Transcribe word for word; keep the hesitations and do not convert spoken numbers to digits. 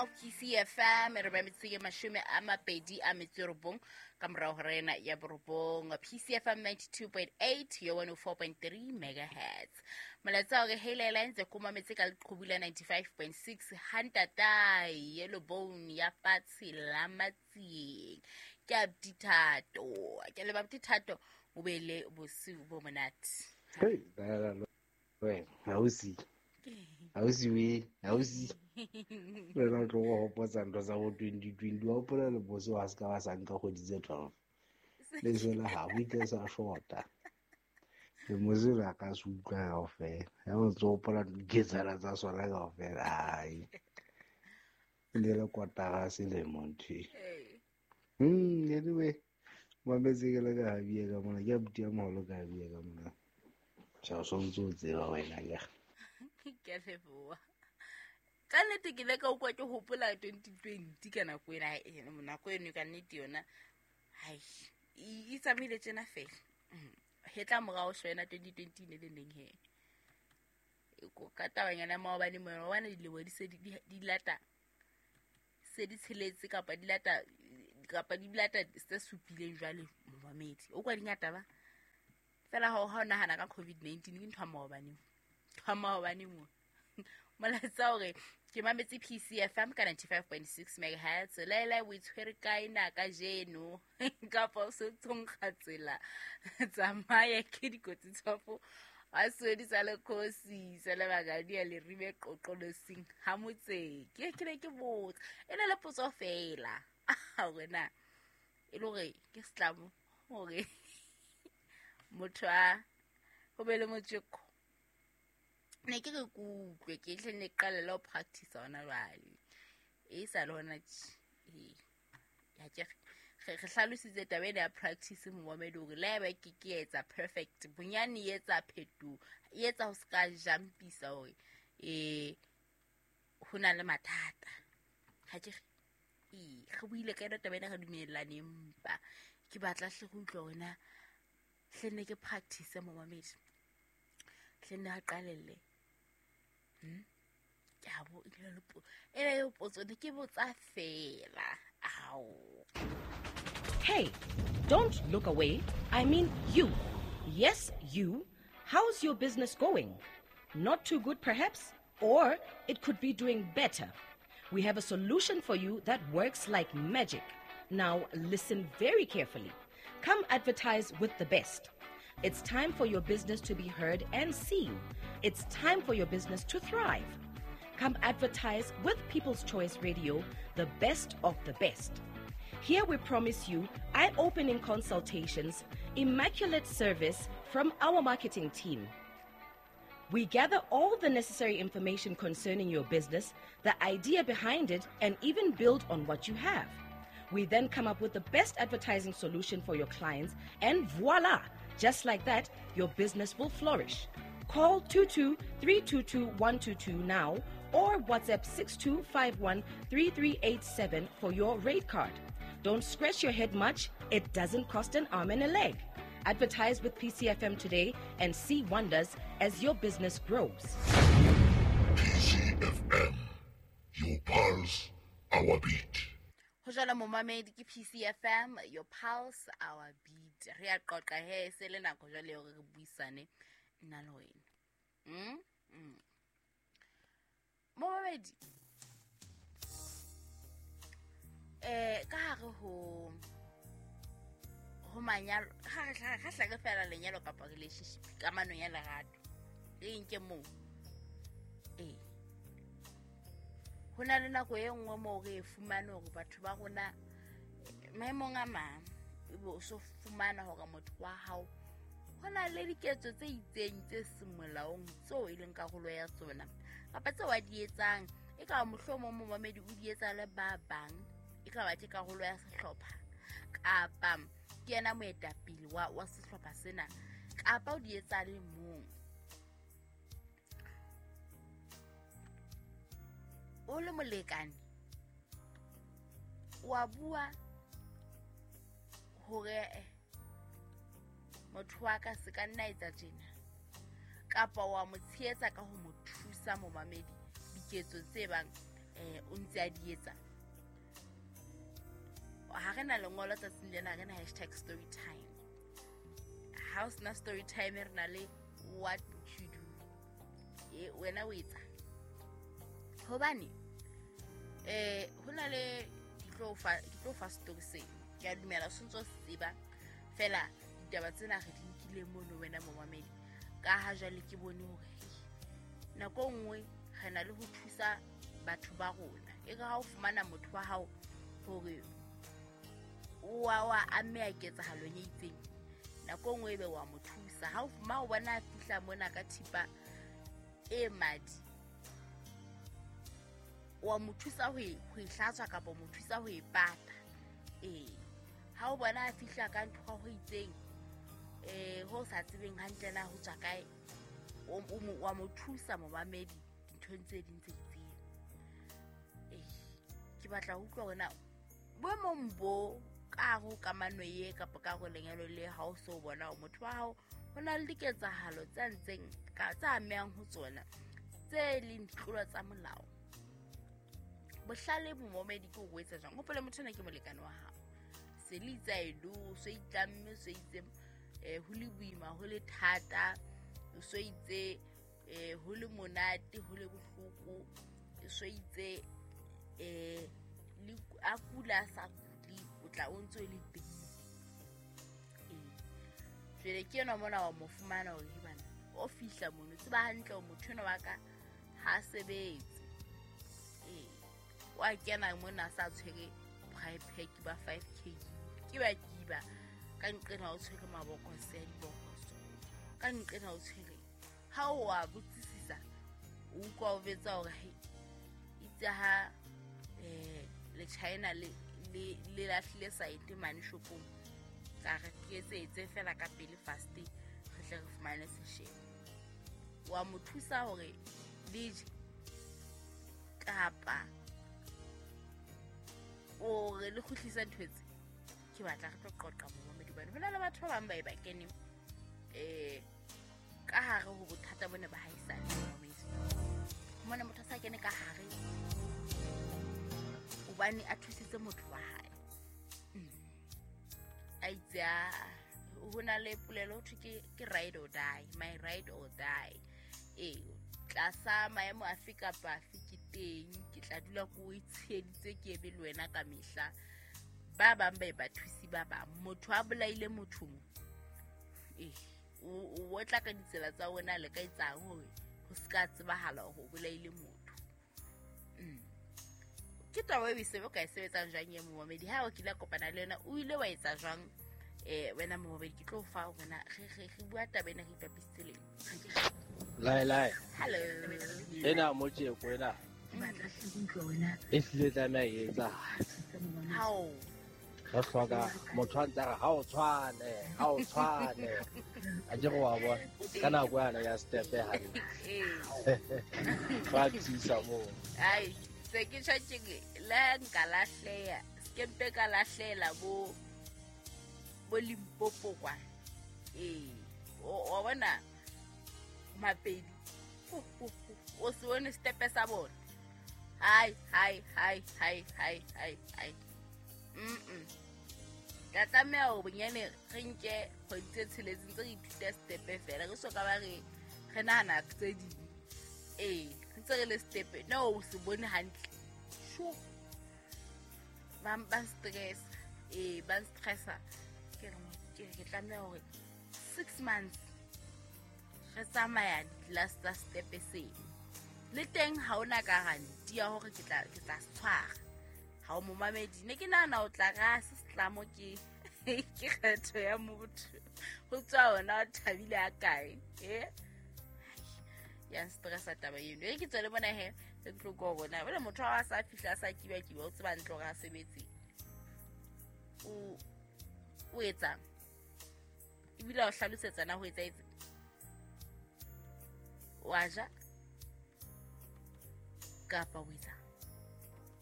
P C F M re ba metsotso e mashome a mabedi a metso e robong ka morao ho rena ya borobong. P C F M ninety-two point eight yo one oh four point three megahertz. Molaetsa hore helela ntse ko mametse ka leqhubu la ninety-five point six hantatae yellow bone ya fatshe la Matsieng. Ke a Dithato, ke le ba Dithato o be le bosiu bo monate. Hey, ba wena hausi hausi we hausi re na tlo go hopotsa ntho tsa bo twenty twenty wa hopola le boso wa ska wa sanka go ditse twelve le jela ha o itse sa shota le mozela ka se utlwa kaofela ya o tso hopola diketsala tsa sona kaofela ai le le kotara selemo ntho mm anyway mametse ke le ka bia ka mona ke abuti ya moholo ka bia ka mona. Tjha so ntse o tseba wena ke. Ke leboha. Ka nnete ke le ka utlwa ke hopola twenty twenty ka nako ena, nako eno ka nnete yona. Hai, e tsamaile tjena fela. Hetla morao shwena twenty twenty ne le neng he. Ka tabanyana maobane mona wa dilemo di se di lata se di tsheletse kapa di lata kapa di lata tse supileng jwale momamedi. O kwa dingata ba. Fela ha o nahana ka covid nineteen ke ntho ya maobane. Ntho ya maobane mo. Molaetsa hore ke mametse P C F M ka ninety-five point six megahertz. Laela o itshwere kae na kajeno? Kapa o se tsonkga tsela. Tsamaya ke dikotsi tsofo. A swedi sa le khosi sa le bagadi ya le ribe qoqolosing ha motse. Ke ke ne ke botsa. E na le potso fela. Hore na e le hore ke setlamo hore motho a ho be le motjeko. Ne ke re kutlwe ke hle ne qala le ho practice hona jwale. E sa le hona tje. Ya ke re hlalositse taba ena ya practice momamedi hore le haeba ke ke etsa perfect bonyane e etsa phetoho e etsa ho ska jumpisa hore eh ho na le mathata. Ha ke e re buile ka yona taba ena re dumellane empa ke batla hle go utlwa hore na hle ne ke practice momamedi. Hle ne a qalelle. Hm? Ke a bo ile le po. Ena yo potso ne ke botsa fela. Ao. Hey, don't look away. I mean you. Yes, you. How's your business going? Not too good perhaps, or it could be doing better. We have a solution for you that works like magic. Now listen very carefully. Come advertise with the best. It's time for your business to be heard and seen. It's time for your business to thrive. Come advertise with People's Choice Radio, the best of the best. Here we promise you eye-opening consultations, immaculate service from our marketing team. We gather all the necessary information concerning your business, the idea behind it, and even build on what you have. We then come up with the best advertising solution for your clients, and voila! Just like that, your business will flourish. Call two two three two two one two two now or WhatsApp six two five one three three eight seven for your rate card. Don't scratch your head much. It doesn't cost an arm and a leg. Advertise with P C F M today and see wonders as your business grows. P C F M, your pulse, our beat. Ho jwalo momamedi ke P C F M, your pulse, our beat. Re a qoqa he se le nako jwale hore re buisane nna le wena. Mm? Mm. Momamedi. Eh ka hare ho ho manyalo, ha re ha hlaka fela lenyalo kapa relationship kamano ya lerato. Re nke moo. Eh. Ho na le nako e nngwe moo re e fumane hore batho ba rona maemong a mang ebe o so fumana hore motho wa hao ho na le diketso tse itseng tse seng molaong tseo e leng karolo ya tsona kapa tseo a di etsang e ka mohlomong momamedi o di etsa le ba bang e ka ba ke karolo ya sehlopha kapa ke yena moetapele wa wa sehlopha sena kapa o di etsa le mong. O le molekane wa bua hore motho wa ka se ka nna etsa tjena kapa wa mo tshehetsa ka ho mo thusa momamedi diketso tse bang eh o ntse a di etsa. Ha re na lengolo tsatsing lena, re na hashtag story time. Ha o sena story time, re na le what would you do. E wena o etsa hobane eh ho na le ke tlo fa ke tlo fa story se ke a dumela o sentse o tseba fela ditaba tsena re di nkile mono wena momamedi ka ha jwale ke bone hore nako nngwe re na le ho thusa batho ba rona. E re ha o fumana motho wa hao hore o wa wa ameha ketsahalong e itseng, nako nngwe ebe wa mo thusa. Ha o fuma o bona a fihla mona ka thipa e madi, wa mo thusa ho e ho e hlatswa kapa mo thusa ho e pata. Eh ha o bona a fihla ka ntho ho itseng eh ho sa tsebeng hantle na ho tswa kae, o wa mo thusa momamedi dinthong tse ding tse itseng. Eh ke batla ho utlwa hore na boemong bo ka ho kamano ye kapa ka ho lenyalo le ha o so bona o motho wa hao ho na le diketsahalo tse ntseng ka tsa amehang ho tsona tse leng ditlolo tsa molao. Bohlale momamedi ke o etsa jwang? Hopola motho ena ke molekane wa hao, se le itse a do so itlamme so itse eh ho le boima ho le thata, so itse eh ho le monate ho le bohloko, so itse eh le a kula sa kuli o tla o ntse le teng. Eh jwale ke yena mona wa mo fumana hore bana o fihla mono tseba hantle o motho ena wa ka ha sebetse. Eh wa kena mona sa tshwere private pack ba five k ke ba kiba ka nqena o tshwere mabokose a dibokoso ka nqena o tshwere ha o wa botsisisa o utlwa o betsa hore he itse ha eh le China le le le lahlile site mane shopong ka re ke etse fela ka pele fast re tle re fumane seshebo. Wa mo thusa hore le je kapa o re le kgutlisa ntho tse ke batla re tlo qoqa momamedi bana. Hona le batho ba bang ba e ba keneng eh ka hare ho bothata bone ba haisane momamedi. Mona motho sa kene ka hare hobane a thusitse motho wa hae. A itse ho na le polelo ho thwe ke ke ride or die, my ride or die. Eh tlasa maemo afe kapa afe ke teng, ke tla dula ko o itsheditse ke ebe le wena ka mehla. Ba bang ba e ba thusi ba bang, motho a bolaile motho mo eh o o tla ka ditsela tsa wena le ka etsang hore ho ska tsebahala hore o bolaile motho. Mm. Ke taba e se ka e sebetsang jwang ye momamedi ha o kile kopana le yena o ile wa etsa jwang eh wena momamedi? Ke tlo fa wena re re re bua taba ena re ipapisitse leng. Lai lai. Hello. Ena mo tjeko ena. E hlile tlameha e etsa. How? Re hloka motho a ntse a re ha o tshwane, ha o tshwane. A ke go wa bona ka nako yana ya step hantle. Eh. Ba thusa moo. Ai, se ke tjho ke la nka lahleha, se mpe ka lahlela bo bo Limpopo kwa. Eh, o bona Mapedi o se bone stepe sa bona. Hai hai hai hai hai hai hai. Mm. Ka tlameha ho bonyane re nke kgwedi tse tsheletseng tse re ithuta stepe fela re so ka ba re re nahana tse ding. Eh, ntse re le stepe no o se bone hantle. Sho. Ba ba stress. Eh, ba stressa. Ke re ke ke tlameha hore six months re tsamaya last tsa stepe seng. Le teng ha ona guarantee ya hore ke tla ke tla tshwara. Ha o momamedi ne ke nahana o tla ra se setlamo ke ke kgetho ya motho. Ho tswa ona o thabile a kae? Eh? Ya stressa taba eno. E ke tswele bona he re tlo go bona. Bole motho wa sa fihla sa kiba kiba o tseba ntlo ra sebetse. O o etsa. Ebile o hlalosetsa na ho etsa etse. Wa ja kapa o etsa.